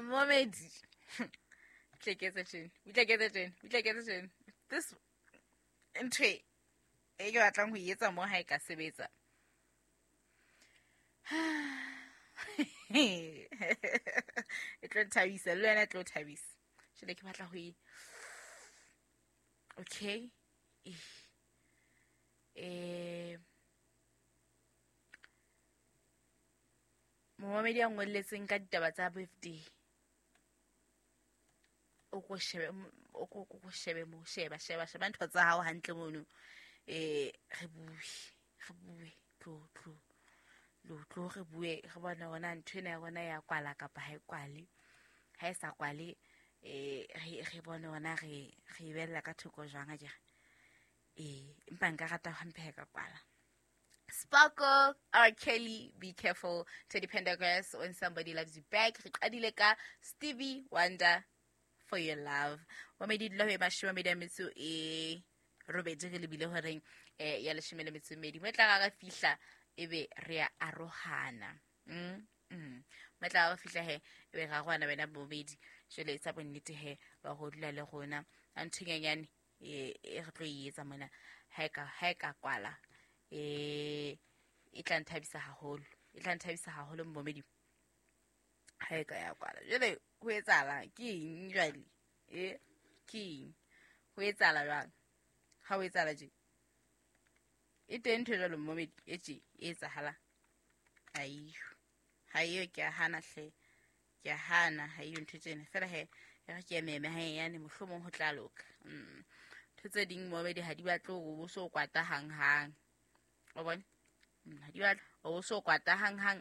Momedi tle ke etse tjena, o tla ke etse tjena, o tla ke etse tjena. This ntho e ke batlang ho e etsa mo ha e ka sebetsa. E tlo nthabisa, le wena e tlo thabisa. Jwale ke batla ho e, okay, momamedi a ngolletseng ka ditaba tsa birthday, o ko shebe, o ko ko shebe mo, sheba sheba sheba ntho tsa hao hantle mono. Re bue, re bue, tlo tlo lo tlo re bue, re bone hore ntho ena ya rona ya kwala kapa ha e kwale. Ha e sa kwale, re bone hore re e bella ka thoko jwang akere. Empa nka rata hampe ha e ka kwala. Sparkle, R. Kelly, Be Careful, Teddy Pendergrass, When Somebody Loves You Back. Re qadile ka Stevie Wonder, For Your Love. Wa medi dula ho e mashome a medi a metso e robedi, re lebile horeng ya leshome le metso e mmedi. Mo e tla re fihla ebe re a arohana. Mo e tla re fihla he ebe re arohana wena bobedi. Jwale tsa bonnete he ba go dula le rona. A ntho e nyenyane e re tlo e etsa mona ha e ka kwala, e tla nthabisa haholo, e tla nthabisa haholo momedi ha e ka ya kwala. Jwale ho etsahala ke eng jwale? Ke eng ho etsahala jwang? Ha ho etsahala tje, e teng ntho e jwalo momedi e tje e etsahala. Aiyo, ha eyo, ke a hana hle, ke a hana, ha eyo ntho tsena. Fela he e re ke ememe ha enyane, mohlomong ho tla loka. Ntho tse ding momedi ha di batle hore o so kwata hanghang. O bone? Ha di batle hore o so kwata hanghang.